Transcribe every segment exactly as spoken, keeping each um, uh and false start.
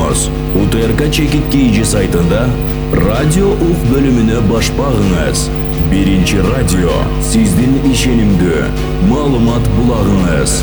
болсоңуз, УТРК чекит кийжи сайтында радио ук бөлүмүнө баш багыңыз. Биринчи радио сиздин ишенимдүү маалымат булагыңыз.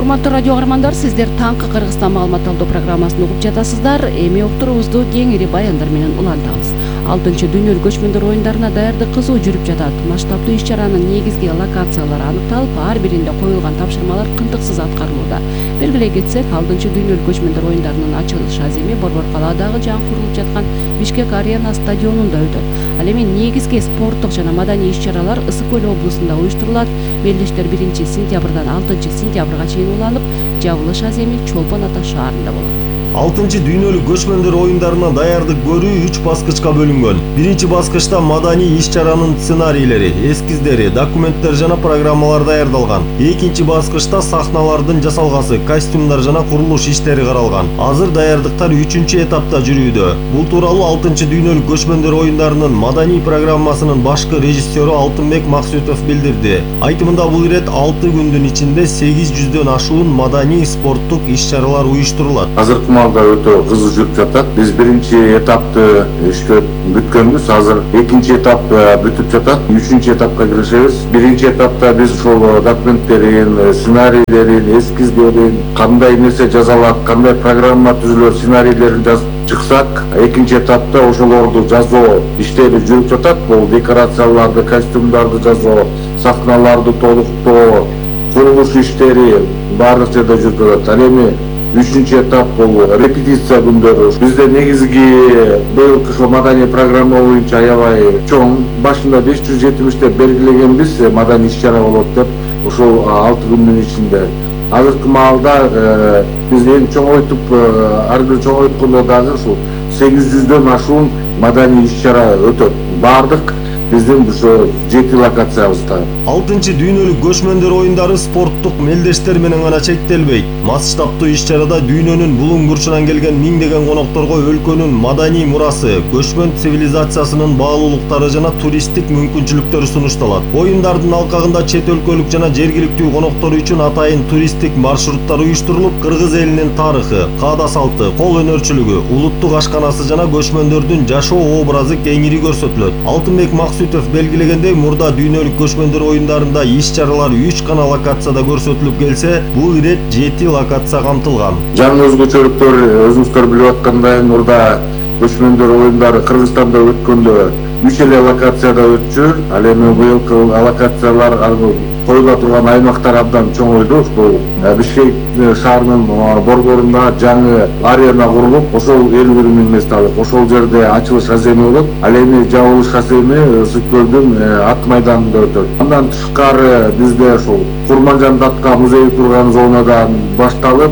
Урматтуу радио каармандар, сиздер таңкы Кыргызстан маалымат алуу программасын угуп жатасыздар. Эми уктуруубузду кеңири баяндар менен улантабыз. алтынчы дүйнөлүк көчмөндөр оюндарына даярдык кызуу жүрүп жатат. Масштабдуу иш-чаранын негизги локациялары аныкталып, ар биринде коюлган тапшырмалар кынтыксыз аткарылууда. Белгилей кетсек, алтынчы дүйнөлүк көчмөндөр оюндарынын ачылыш аземи Борбор калаадагы жаңы курулуп жаткан Бишкек арена стадионунда өтөт. Ал эми негизги спорттук жана маданий иш-чаралар Ысык көл облусунда уюштурулат. Мелдештер биринчи сентябрдан алтынчы сентябрга чейин уланып, жабылыш аземи Чолпон Ата шаарында болот. алтынчы дүйнөлүк көчмөндөр оюндарына даярдык көрүү үч баскычка бөлүнгөн. Биринчи баскычта маданий иш-чаранын сценарийлери, эскиздери, документтер жана программалар даярдалган. Экинчи баскычта сахналардын жасалгасы, костюмдар жана курулуш иштери каралган. Азыр даярдыктар үчүнчү этапта жүрүүдө. Бул тууралуу алтынчы дүйнөлүк көчмөндөр оюндарынын маданий программасынын башкы режиссеру Алтынбек Максутов билдирди. Айтымында бул ирет алты күндүн ичинде сегиз жүздөн ашуун маданий спорттук иш-чаралар уюштурулат. Да өтө кызуу жүрүп жатат. Биз биринчи этапты иштеп бүткөнбүз. Азыр экинчи этап бүтүп жатат. Үчүнчү этапка киришебиз. Биринчи этапта биз ошол документтерин, сценарийлерин, эскиздерин, кандай нерсе жазалат, кандай программа түзүлөт, сценарийлерин жазып чыксак, экинчи этапта ошолорду жазуу иштери жүрүп жатат. Бул декорацияларды, костюмдарды жазуу, сахналарды толуктоо, курулуш иштери баардык жерде жүрүп жатат. Ал эми үчүнчү этап бул репетиция күндөрү. Бизде негизги быйылкы ошо маданий программа боюнча аябай чоң. Башында беш жүз жетимиш деп белгилегенбиз, маданий иш-чара болот деп, ошол алты күндүн ичинде. Азыркы маалда биз эң чоңойтуп, ар бир чоңойткондо дагы ушул сегиз жүздөн ашуун маданий иш-чара өтөт. Бардык биздин ошо жети локациябызда. алтынчы дүйнөлүк көчмөндөр оюндары спорттук мелдештер менен гана чектелбейт. Масштабдуу иш-чарада дүйнөнүн булуң бурчунан келген миңдеген конокторго өлкөнүн маданий мурасы, көчмөн цивилизациясынын баалуулуктары жана туристтик мүмкүнчүлүктөрү сунушталат. Оюндардын алкагында чет өлкөлүк жана жергиликтүү коноктор үчүн атайын туристтик маршруттар уюштурулуп, кыргыз элинин тарыхы, каада салты, кол өнөрчүлүгү, улуттук ашканасы жана көчмөндөрдүн жашоо образы кеңири көрсөтүлөт. Алтынбек Максутов белгилегендей, мурда дүйнөлүк көчмөндөр оюндарында иш-чаралар үч гана локацияда көрсөтүлүп келсе, бул ирет жети локация камтылган. Жаңы өзгөчөлүктөр өзүңүздөр билип аткандай, мурда көчмөндөр оюндары Кыргызстанда өткөндө үч эле локацияда өтчү. Ал эми быйылкы локациялар коюла турган аймактар абдан чоңойду. Бул Бишкек шаарынын борборунда жаңы арена курулуп, ошол элүү бир миң мест алып, ошол жерде ачылыш аземи болот. Ал эми жабылыш аземи Ысык көлдүн ат майданында өтөт. Андан тышкары бизде ошол Курманжан Датка музейи турган зонадан башталып,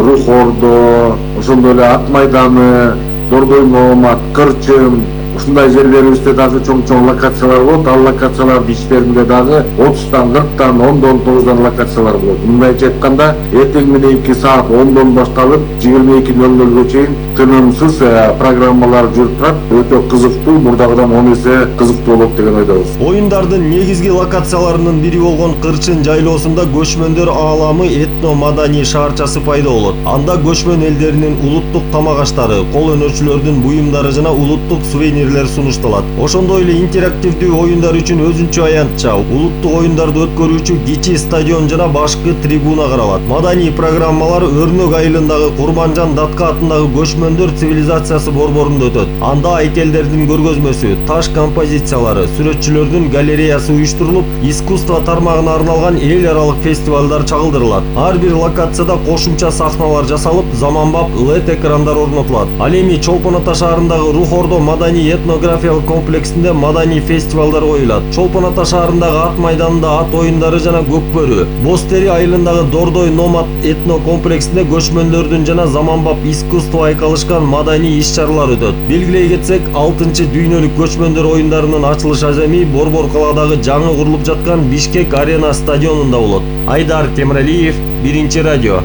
Рух Ордо, ошондой эле ат майданы, Дордой Номат, Кырчын, ушундай жерлерибизде дагы чоң-чоң локациялар болот. Ал локациялардын ичтеринде дагы отуздан, кырктан, ондон, тогуздан локациялар болот. Мындайча айтканда, эртең мененки саат ондон башталып, жыйырма эки ноль нольго чейин тынымсыз программалар жүрүп турат. Өтө кызыктуу, мурдагыдан он эсе кызыктуу болот деген ойдобуз. Оюндардын негизги локацияларынын бири болгон Кырчын жайлоосунда көчмөндөр ааламы этно-маданий шаарчасы пайда болот. Анда көчмөн элдеринин улуттук тамак аштары, кол өнөрчүлөрдүн буюмдары жана улуттук сувенирлер сунушталат. Ошондой эле интерактивдүү оюндар үчүн өзүнчө аянтча, улуттук оюндарды өткөрүүчү кичи стадион жана башкы трибуна каралат. Маданий программалар Өрнөк айылындагы Курманжан Датка атындагы көчмөндөр цивилизациясы борборунда өтөт. Анда айкелдердин көргөзмөсү, таш композициялары, сүрөтчүлөрдүн галереясы уюштурулуп, искусство тармагына арналган эл аралык фестивалдар чагылдырылат. Ар бир локацияда кошумча сахналар жасалып, заманбап лед экрандар орнотулат. Ал эми Чолпон Ата шаарындагы Рух Ордо маданий этнографиялык комплексинде маданий фестивалдар коюлат. Чолпон Ата шаарындагы ат майданында ат оюндары жана Көкбөрү, Бостери айылындагы Дордой Номад этно комплексинде көчмөндөрдүн жана заманбап искусство айкалышкан маданий иш-чаралар өтөт. Белгилей кетсек, алтынчы дүйнөлүк көчмөндөр оюндарынын ачылыш аземи Борбор калаадагы жаңы курулуп жаткан Бишкек арена стадионунда болот. Айдар Темиралиев, Биринчи радио.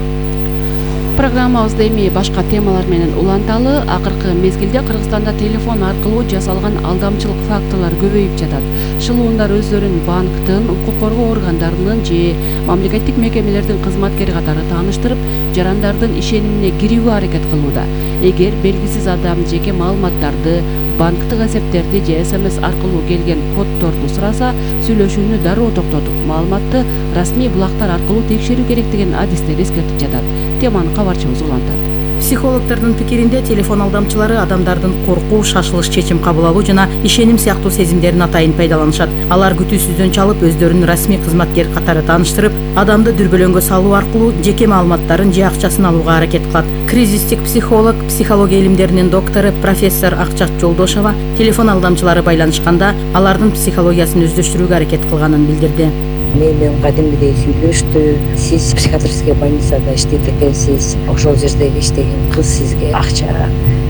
Программабызды эми башка темалар менен уланталы. Акыркы мезгилде Кыргызстанда телефон аркылуу жасалган алдамчылык фактылар көбөйүп жатат. Шылуундар өздөрүн банктын, укук коргоо органдарынын же мамлекеттик мекемелердин кызматкери катары тааныштырып, жарандардын ишенимине кирүүгө аракет кылууда. Эгер белгисиз адам жеке маалыматтарды, банктык эсептерди же СМС аркылуу келген коддорду сураса, сүйлөшүүнү дароо токтотуп, маалыматты расмий булактар аркылуу текшерүү керек деген адистер эскертип жатат. Теманы кабарчыбыз улантат. Психологдордун пикиринде телефон алдамчылары адамдардын коркуу, шашылыш чечим кабыл алуу жана ишеним сыяктуу сезимдерин атайын пайдаланышат. Алар күтүүсүздөн чалып, өздөрүн расмий кызматкер катары тааныштырып, адамды дүрбөлөңгө салуу аркылуу жеке маалыматтарын же акчасын алууга аракет кылат. Кризистик психолог, психология илимдеринин доктору профессор Акчат Жолдошова телефон алдамчылары байланышканда алардын психологиясын өздөштүрүүгө аракет кылганын билдирди. Менен кадимгидей сүйлөштү. Сиз психиатрический больницада иштейт экенсиз. Ошол жердеги иштеген кыз сизге акча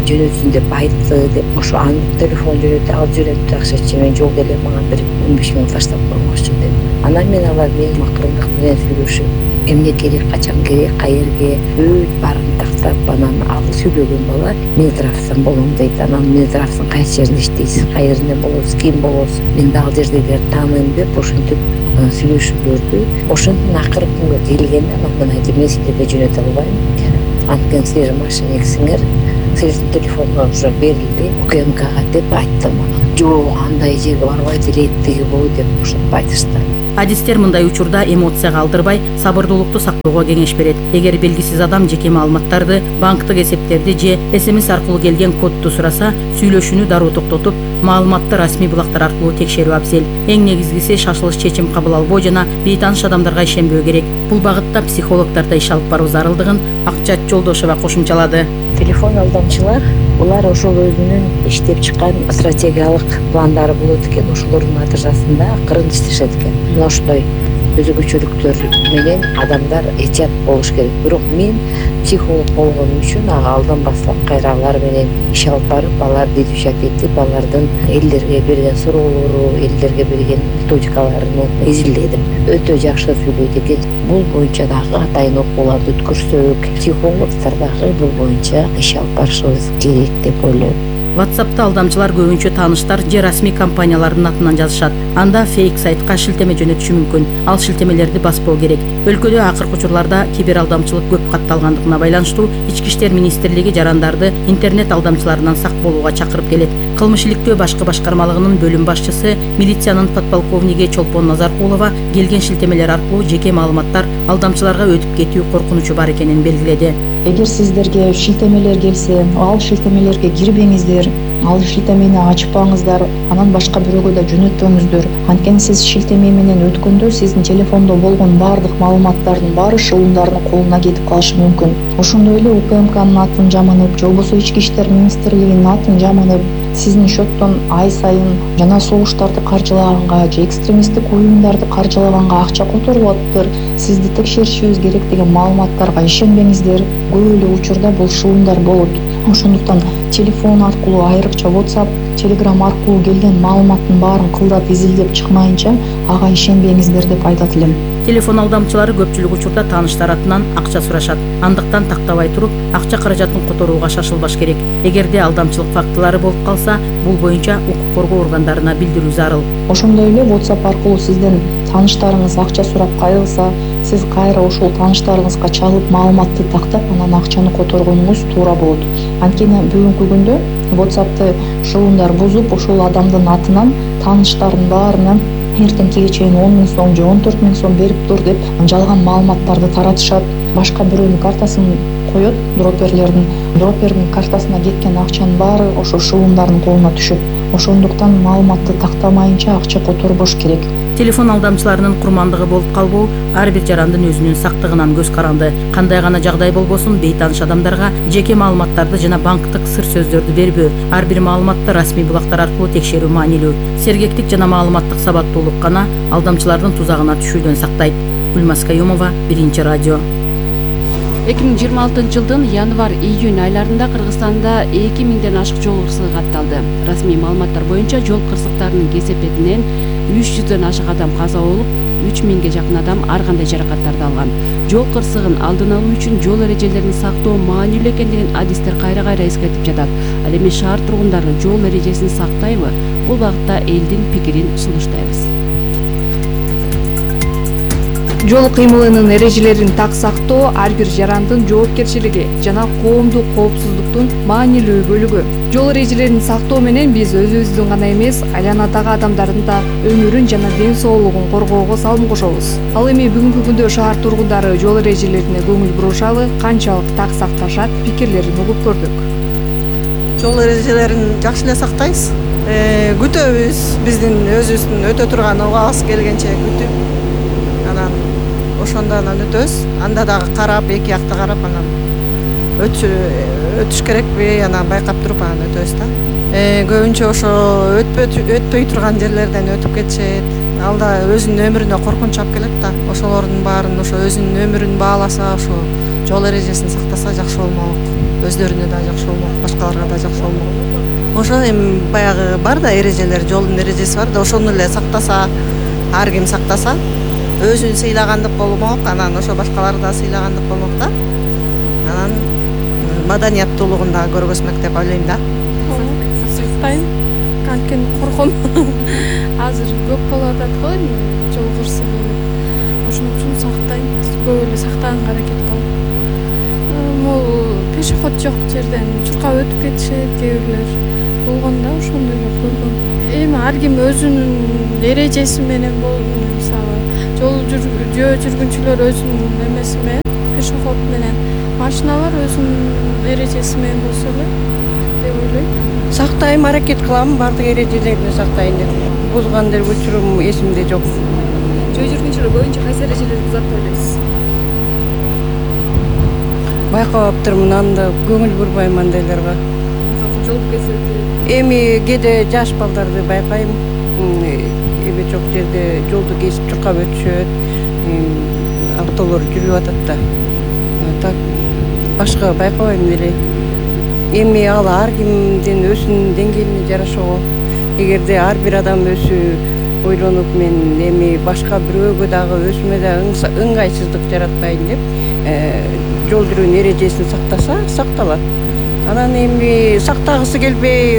жөнөтсүн деп айтты деп, ошо анын телефон жөнөтүп алып жөнөттү акчачы. Мен жолдо эле мага бир он беш миң таштап коймокчу деп. Анан мен алар менин макырындык менен сүйлөшүп, эмне керек, качан керек, каерге бүт баарын тактап, анан ал сүйлөгөн бала мен тарапсан болом дейт. Анан мен тарапсан кайсы жеринде иштейсиз, каеринен болосуз, ким болосуз, мен дагы ал жердегилерди тааныйм деп ошентип сүйлөшүүлөрдү. Ошондон акыркы күнгө келгенде анан мен айтып, мен силерге жөнөтө албайм. Анткени силер мошенниксиңер, силердин телефондор уже берилди УКМКга деп айттым. Анан жок, андай жерге барбайт эле, тиги бу деп ошентип айтышты. Адистер мындай учурда эмоцияга алдырбай, сабырдуулукту сактоого кеңеш берет. Эгер белгисиз адам жеке маалыматтарды, банктык эсептерди же СМС аркылуу келген кодду сураса, сүйлөшүүнү дароо токтотуп, маалыматты расмий булактар аркылуу текшерүү абзел. Эң негизгиси шашылыш чечим кабыл албоо жана бейтааныш адамдарга ишенбөө керек. Бул багытта психологдор да иш алып баруу зарылдыгын Акчат Жолдошова кошумчалады. Телефон алдамчылар булар ошол өзүнүн иштеп чыккан стратегиялык пландары болот экен, ошолордун натыйжасында акырын иштешет экен. Мына ошондой өзгөчөлүктөр менен адамдар этият болуш керек. Бирок мен психолог болгонум үчүн ага алданбастан кайра алар менен иш алып барып, аларды изучать этип, алардын элдерге берген суроолору, элдерге берген методикаларын изилдедим. Өтө жакшы сүйлөйт экен. Бул боюнча дагы атайын окууларды өткөрсөк, психологдор дагы бул боюнча иш алып барышыбыз керек деп ойлойм. WhatsApp'та алдамчылар көбүнчө тааныштар же расмий компаниялардын атынан жазышат. Анда фейк сайтка шилтеме жөнөтүшү мүмкүн. Ал шилтемелерди баспоо керек. Өлкөдө акыркы учурларда кибер алдамчылык көп катталгандыгына байланыштуу Ички иштер министрлиги жарандарды интернет алдамчыларынан сак болууга чакырып келет. Кылмыш иликтөө башкы башкармалыгынын бөлүм башчысы, милициянын подполковниги Чолпон Назаркулова келген шилтемелер аркылуу жеке маалыматтар алдамчыларга өтүп кетүү коркунучу бар экенин белгиледи. Эгер сиздерге шилтемелер келсе, ал шилтемелерге кирбеңиздер, ал шилтемени ачпаңыздар, анан башка бирөөгө да жөнөтпөңүздөр. Анткени сиз шилтеме менен өткөндө сиздин телефондо болгон баардык маалыматтардын баары шылуундарынын колуна кетип калышы мүмкүн. Ошондой эле УКМКнын атын жаманып, же болбосо Ички иштер министрлигинин атын жаманып, сиздин счеттон ай сайын жана согуштарды каржылаганга же экстремисттик уюмдарды каржылаганга акча которуп атыптыр, сизди текшеришибиз керек деген маалыматтарга ишенбеңиздер. Көп эле учурда бул шылуундар болот. Ошондуктан телефон аркылуу, айрыкча WhatsApp, Telegram аркылуу келген маалыматтын баарын кылдап изилдеп чыкмайынча ага ишенбеңиздер деп айтат элем. Телефон алдамчылары көпчүлүк учурда тааныштар атынан акча сурашат. Андыктан тактабай туруп, акча каражатын которууга шашылбаш керек. Эгерде алдамчылык фактылары болуп калса, бул боюнча укук коргоо органдарына билдирүү зарыл. Ошондой эле WhatsApp аркылуу сизден тааныштарыңыз акча сурап кайрылса, сиз кайра ошол тааныштарыңызга чалып маалыматты тактап, анан акчаны которгонуңуз туура болот. Анткени бүгүнкү күндө WhatsApp'ты шылуундар бузуп, ошол адамдын атынан тааныштардын баарына эртеңкиге чейин он миң сом же он төрт миң сом берип тур деп жалган маалыматтарды таратышат. Башка бирөөнүн картасын коет, дроперлердин дропердин картасына кеткен акчанын баары ошо шылуундардын колуна түшөт. Ошондуктан маалыматты тактамайынча акча которбош керек. Телефон алдамчыларынын курмандыгы болуп калбоо ар бир жарандын өзүнүн сактыгынан көз каранды. Кандай гана жагдай болбосун, бейтааныш адамдарга жеке маалыматтарды жана банктык сыр сөздөрдү бербөө, ар бир маалыматты расмий булактар аркылуу текшерүү маанилүү. Сергектик жана маалыматтык сабаттуулук гана алдамчылардын тузагына түшүүдөн сактайт. Гүлмаз Каюмова, Биринчи радио. эки миң жыйырма алтынчы жылдын январь-июнь айларында Кыргызстанда эки миңден ашык жол кырсыгы катталды. Расмий маалыматтар боюнча жол кырсыктарынын кесепетинен үч жүздөн ашык адам каза болуп, үч миңге жакын адам ар кандай жаракаттарды алган. Жол кырсыгын алдын алуу үчүн жол эрежелерин сактоо маанилүү экендигин адистер кайра кайра эскертип жатат. Ал эми шаар тургундары жол эрежесин сактайбы? Бул багытта элдин пикирин сунуштайбыз. Жол кыймылынын эрежелерин так сактоо ар бир жарандын жоопкерчилиги жана коомдук коопсуздуктун маанилүү бөлүгү. Жол эрежелерин сактоо менен биз өзүбүздүн гана эмес, айланадагы адамдардын да өмүрүн жана ден соолугун коргоого салым кошобуз. Ал эми бүгүнкү күндө шаар тургундары жол эрежелерине көңүл бурушабы, канчалык так сакташат, пикирлерин угуп көрдүк. Жол эрежелерин жакшы эле сактайбыз. Күтөбүз, биздин өзүбүздүн өтө турган убагыбыз келгенче күтүп, анан ошондо анан өтөбүз. Анда дагы карап, эки жакта карап, анан өтүш керекпи, анан байкап туруп анан өтөбүз да. Көбүнчө ошо өтпөй турган жерлерден өтүп кетишет. Ал да өзүнүн өмүрүнө коркунуч алып келет да. Ошолордун баарын ошо өзүнүн өмүрүн бааласа, ошо жол эрежесин сактаса жакшы болмок. Өздөрүнө да жакшы болмок, башкаларга да жакшы болмок. Ошо эми баягы бар да эрежелер, жолдун эрежеси бар да, ошону эле сактаса, ар ким сактаса, өзүн сыйлагандык болмок, анан ошо башкаларды да сыйлагандык болмок да. Анан маданияттуулугун да көргөзмөк деп ойлойм да. Сактайм, анткени корком. Азыр көп болуп атат го жол кырсыгы. Ошон үчүн сактайм, көп эле сактаганга аракет кылам. Могу пешеход жок жерден чуркап өтүп кетишет кээ бирлер. Болгондо ошондой көргөм. Эми ар ким өзүнүн эрежеси менен мисалы жол жөө жүргүнчүлөр өзүнүн эмеси менен, пешеход менен, машиналар өзүнүн эрежеси менен болсо эле деп ойлойм. Сактайм, аракет кылам, бардык эрежелерди сактайын деп. Бузган деле учурум эсимде жок. Жөө жүргүнчүлөр көбүнчө кайсы эрежелерди сактап элебиз? Байкабаптырмын, анда көңүл бурбайм андайларга. Жолду кесет. Эми кээде жаш балдарды байкайм. Эми жок жерде жолду кесип чуркап өтүшөт. Автолор жүрүп атат да. Так башка байкабайм деле. Эми ал ар кимдин өзүнүн деңгээлине жараша го. Эгерде ар бир адам өзү ойлонуп, мен эми башка бирөөгө дагы өзүмө да ыңгайсыздык жаратпайын деп, жол жүрүүнүн эрежесин сактаса, сакталат. Анан эми сактагысы келбей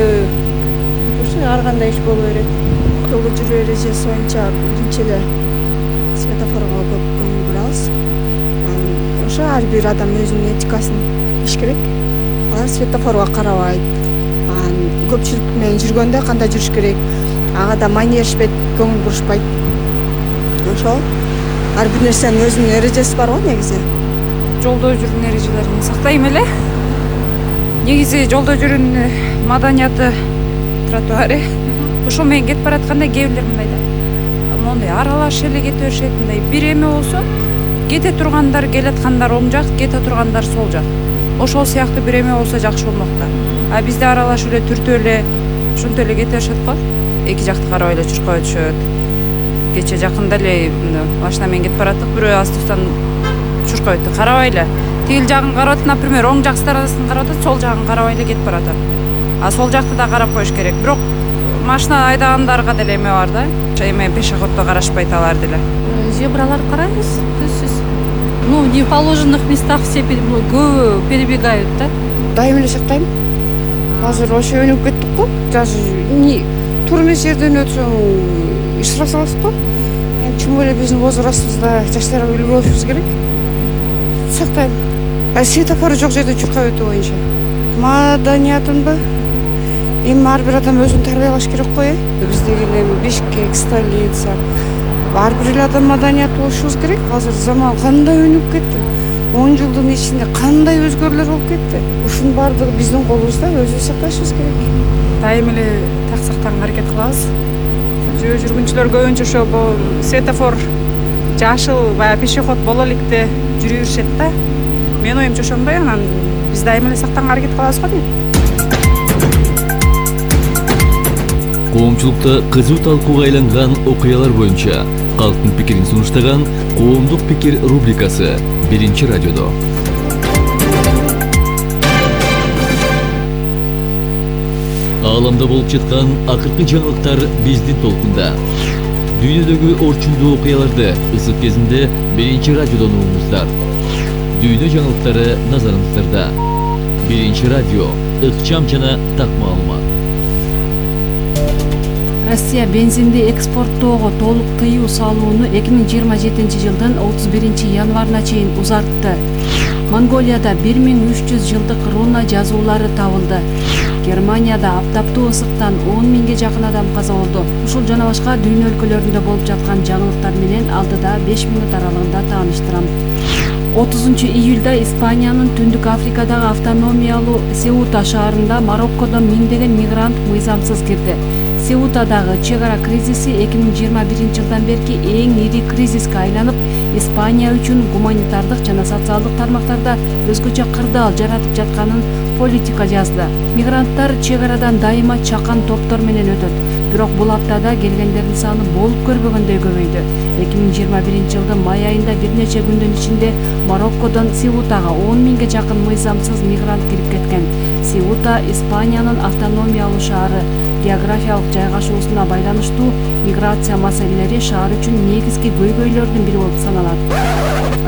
жүрсө ар кандай иш боло берет. Жолдо жүрүү эрежеси боюнча биринчи эле светофорго көп көңүл бурабыз. Ошо ар бир адам өзүнүн этикасын билиш керек. Алар светофорго карабайт. Көпчүлүк менен жүргөндө кандай жүрүш керек, ага да маани беришпейт, көңүл бурушпайт. Ошол ар бир нерсенин өзүнүн эрежеси бар го негизи. Жолдо жүрүүнүн эрежелерин сактайм эле. Негизи жолдо жүрүүнүн маданияты, тротуары ошол менен кетип баратканда кээ бирлер мындай да. Мондай аралаш эле кете беришет, мындай бир эме болсо, кете тургандар келаткандар оң жак, кете тургандар сол жак. Ошол сыяктуу бир эме болсо жакшы болмок да. А бизде аралашып эле түртүп эле ушинтип эле кете беришет го. Эки жакты карабай эле чуркап өтүшөт. Кече жакында эле машина менен кетип бараттык, бирөө автобустан чуркап өттү, карабай эле. Тигил жагын карап атат, например, оң жак сторонасын карап атат, сол жагын карабай эле кетип баратат. А сол жакты да карап коюш керек. Бирок машина айдагандарга деле эме бар да. Эме пешеходдо карашпайт алар деле. Зебраларды карайбыз, түзсүз. Ну, не в положенных местах все көбү перебегают, да? Дайым эле сактайм. Азыр ошо өнүгүп кеттик го. Даже туура эмес жерден өтсөң ишрап саласыз го. Тем эле биздин возрастыбызда жаштарга үлгү болушубуз керек. Сактайм. А светофор жок жерде чуркап өтүү боюнча маданиятынбы? Эми ар бир адам өзүн тарбиялаш керек го, э? Биздеги эми Бишкек, столица. Ар бир эле адам маданият болушубуз керек. Азыр заман кандай өнүгүп кетти. он жылдын ичинде кандай өзгөрүүлөр болуп кетти. Ушунун баардыгы биздин колубузда, өзүбүз сакташыбыз керек. Дайым эле так сактаганга аракет кылабыз. Жөө жүргүнчүлөр көбүнчө ошо светофор жашыл баягы пешеход боло электе жүрүп жүрүшет да. Менин оюмча ошондой, анан биз дайым эле сактаганга аракет кылабыз го дейм. Коомчулукта кызуу талкууга айланган окуялар боюнча калктын пикирин сунуштаган Коомдук пикир рубрикасы биринчи радиодо. Ааламда болуп жаткан акыркы жаңылыктар биздин толкунда. Дүйнөдөгү орчундуу окуяларды ысык кезинде биринчи радиодон угуңуздар. Дүйнө жаңылыктары назарыңыздарда. Биринчи радио, ыкчам жана так маалымат. Россия бензинди экспорттоого толук тыюу салууну эки миң жыйырма жетинчи жылдын отуз биринчи январына чейин узартты. Монголияда бир миң үч жүз жылдык руна жазуулары табылды. Германияда аптаптуу ысыктан он миңге жакын адам каза болду. Ушул жана башка дүйнө өлкөлөрүндө болуп жаткан жаңылыктар менен алдыда беш мүнөт аралыгында тааныштырам. отузунчу июлда Испаниянын Түндүк Африкадагы автономиялуу Сеута шаарында Мароккодон миңдеген мигрант мыйзамсыз кирди. Сеутадагы чек ара кризиси эки миң жыйырма биринчи жылдан берки эң ири кризиске айланып, Испания үчүн гуманитардык жана социалдык тармактарда өзгөчө кырдаал жаратып жатканын Политика жазды. Мигранттар чек арадан дайыма чакан топтор менен өтөт. Бирок бул аптада келгендердин саны болуп көрбөгөндөй көбөйдү. эки миң жыйырма биринчи жылдын май айында бир нече күндүн ичинде Мароккодон Сеутага он миңге жакын мыйзамсыз мигрант кирип кеткен. Сеута Испаниянын автономиялуу шаары. Географиялык жайгашуусуна байланыштуу миграция маселелери шаар үчүн негизги көйгөйлөрдүн бири болуп саналат.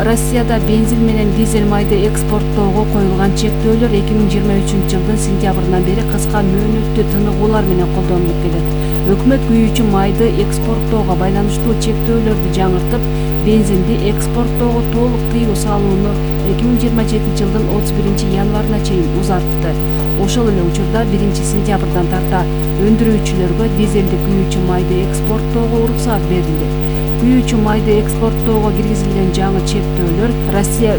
Россияда бензин менен дизель майды экспорттоого коюлган чектөөлөр эки миң жыйырма үчүнчү жылдын сентябрынан бери кыска мөөнөттүү тыныгуулар менен колдонулуп келет. Өкмөт күйүүчү майды экспорттоого байланыштуу чектөөлөрдү жаңыртып, бензинди экспорттоого толук тыюу салууну эки миң жыйырма жетинчи жылдын отуз биринчи январына чейин узартты. Ошол эле учурда биринчи сентябрдан тарта өндүрүүчүлөргө дизелди күйүүчү майды экспорттоого уруксаат берилди. Күйүүчү майды экспорттоого киргизилген жаңы чектөөлөр Россия